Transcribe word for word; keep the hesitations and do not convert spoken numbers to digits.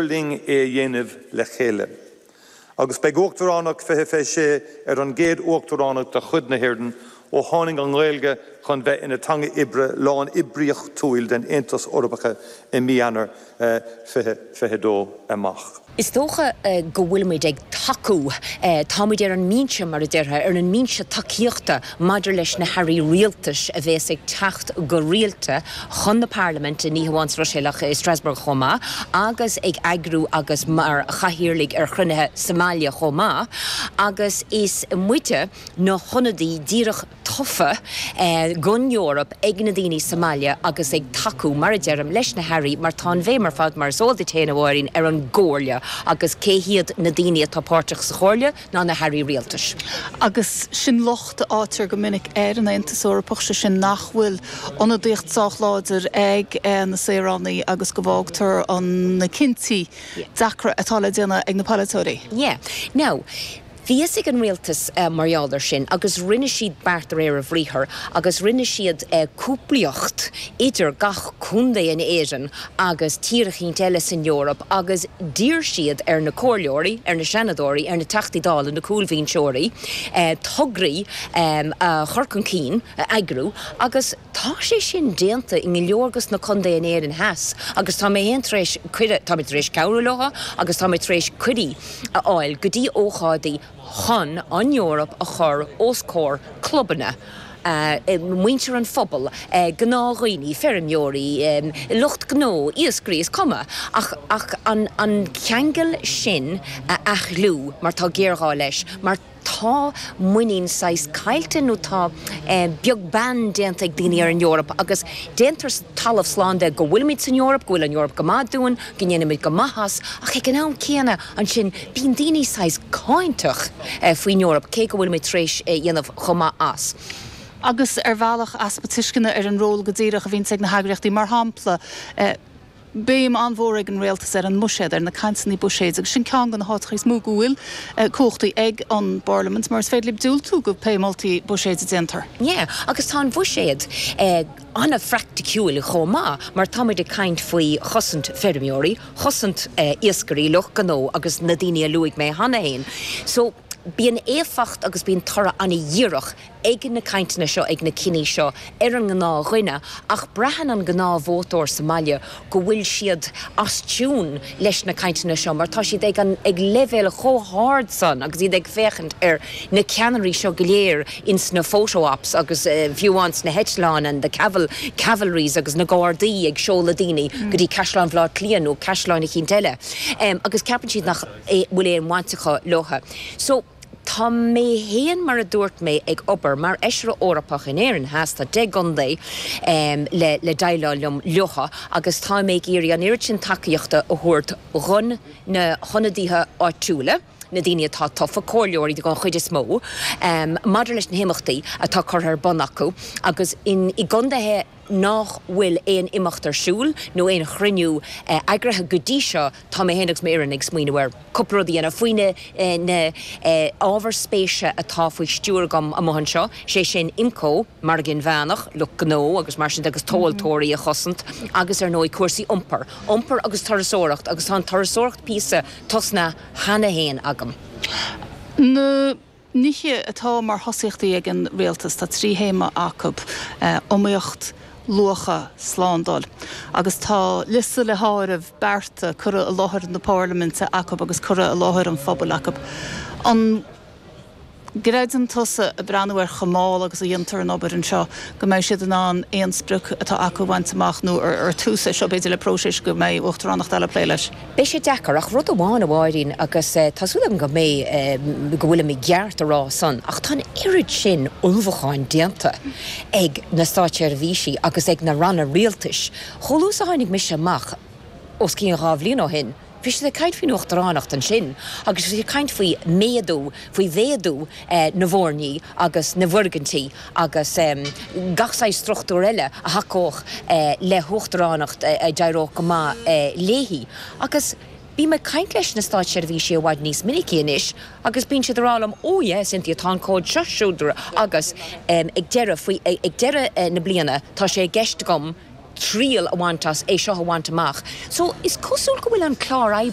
linn é a dhéanamh le chéile. Agus beidh Uachtaránacht fiche fiche sé ar an gcéad uachtaránacht de chuid na hÉireann ó tháinig an Ghaeilge chun bheith ina teanga oibre lánoibríochtúil den Aontas Eorpach i mí Eanáir fiche fiche dó amach. Is dócha go bhfuilimid ag tacú, táimid ar an mbinse mar a déarfá, ar an mbinse tacaíochta maidir leis na hairí rialtais a bheas ag teacht go rialta chun na Parlaiminte, ní hamháin sa Bhruiséil ach i Strasbourg chomh maith, agus ag eagrú agus mar chathaoirligh ar chruinnithe sa mbaile chomh maith, agus is muide na hionadaí díreach tofa don Eoraip ag na daoine sa mbaile agus ag tacú, mar a deirim, leis na hairí mar tá an bhéim ar fad, mar is eol duit féin a Mháirín, ar an gComhairle agus cé hiad na daoine atá páirteach sa Chomhairle ná na hairí rialtais. Agus sin locht a fhaightear go minic ar an Aontas Eorpach, sé sin nach bhfuil ionadaíocht sách láidir ag na saoránaigh agus go bhfágtar na cinntí deacra atá le déanamh ag na polaiteoirí. Yeah. Now, bhí fhios ag an rialtas mar gheall air sin agus rinne siad beart de réir a bhriathair agus rinne siad cúplaíocht idir gach contae in Éirinn agus tír eicínt eile san Eoraip agus d'iarr siad ar na comhairleoirí, ar na seanadóirí, ar na Teachtaí Dála, na cúlbhinseoirí, tograí a chur chun cinn, a eagrú agus tá sé sin déanta i go leor dos na contae in Éirinn Theas agus tá mé féin tar éis cuireadh, tá mé tar éis cabhrú leo agus tá mé tar éis cuirí a fháil go dtí ócáidí chun an Eoraip a chur os comhair clubanna, muintir an phobail, gnáthdhaoine, feirmeoirí, lucht gnó, iascairí, is cuma, ach ach an an ceangal sin a athdhlúthú mar tá géarghá leis, mar tá muinín saghas caillte nó tá beag beann déanta ag daoine ar an Eoraip agus déantar talamh slán de go bhfuilimid san Eoraip, go bhfuil an Eoraip go maith dúinn, go ndéanaimid go maith as, ach ag an am céanna ansin bíonn daoine saghas cáinteach faoin Eoraip cé go bhfuilimid tar éis dhéanamh chomh maith as. Agus ar bhealach easpa tuisceana ar an ról go díreach a bhíonns ag na heagraíochtaí, mar shampla, béim an-mhór ag an rialtas ar an mbuiséad, ar na cainteanna buiséid, agus sin ceann de na háiteacha is mó go bhfuil cumhachtaí ag an bParlaimint, mar is féidir libh diúltú go pé moltaí buiséid a déantar. Yeah, agus tá an bhuiséad an-phraiticiúil chomh maith, mar táimid ag caint faoi chosaint feirmeoirí, chosaint iascairí, lucht gnó agus na daoine a luaigh mé cheana féin. So, bíonn éifeacht agus bíonn toradh an-dhíreach ag na cainteanna seo, ag na cinní seo ar an ngnáthdhuine, ach braitheann an gnáthvótóir sa mbaile go bhfuil siad as tiún leis na cainteanna seo mar tá siad ag an ag leibhéal chomh hard san agus iad ag féachaint ar na ceannairí seo go léir ins na photo ops agus fiú amháin sna heitleáin and the caval cavalries agus na gardaí ag seoladh daoine go dtí Caisleán Bhaile Átha Cliath nó caisleán eicínt eile. Agus ceapann siad nach bhfuil aon bhaint acu leo. So, tá mé féin mar a dúirt mé ag obair mar fheisire Eorpach in Éirinn Theas, tá deich gcontae le le déileáil liom leo agus tá mé ag iarraidh an oiread sin tacaíochta a thabhairt dhon na hionadaithe áitiúla, na daoine atá tofa, comhairleoirí den chuid is mó, maidir leis na himeachtaí atá curtha ar bun acu agus in i gcontaetha nach bhfuil aon imeacht ar siúl nó aon chruinniú eagraithe go dtí seo, tá mé féin agus m'fhoireann ag smaoineamh ar cúpla rud a dhéanamh faoi na na ábhair spéise atá faoi stiúir agam amuigh anseo, sé sin IMCO, margadh inmheánach, lucht gnó agus mar sin de agus tomhaltóirí a chosaint agus ar ndóigh cúrsaí iompair, iompar agus turasóireacht agus tá an turasóireacht píosa tosnaithe cheana féin agam. Na nithe atá mar thosaíochtaí ag an rialtas, tá trí théama acu, iomaíocht, luacha, slándáil. Agus tá liosta le háireamh bearta curtha i láthair na Parlaiminte acu agus curtha i láthair an phobail acu. An gcreideann tusa, ag breathnú ar chomh mall agus a dhéantar an obair anseo, go mbeidh siad in ann aon sprioc atá acu a bhaint amach nó ar tús é seo b'fhéidir le próiseas go mbeidh uachtaránacht eile ag plé leis? Beidh sé deacair, ach rud amháin a Mháirín, agus tá súil agam go mbeidh, go bhfuilim i gceart a rá san, ach tá an oiread sin ullmhúcháin déanta ag na státseirbhísí agus ag na ranna rialtais. Chomh luath is a tháinig mise amach os cionn dhá bhliain ó shin, bhí siad ag caint faoin uachtaránacht ansin agus bhí siad ag caint faoi méadú, faoi mhéadú na bhfoirní agus na bhfoirgintí agus gach saghas struchtúr eile a thacódh le huachtaránacht a d'éireodh go maith léi. Agus bím ag caint leis na státseirbhísí i bhfad níos minicí anois agus bíonn siad ag rá liom, 'Oh yes, Cynthia, tá an comhad seo siúd agus ag deireadh, faoi, ag deireadh na bliana tá sé i gceist agam, triail a bhaint as é seo a bhaint amach. So is cosúil go bhfuil an clár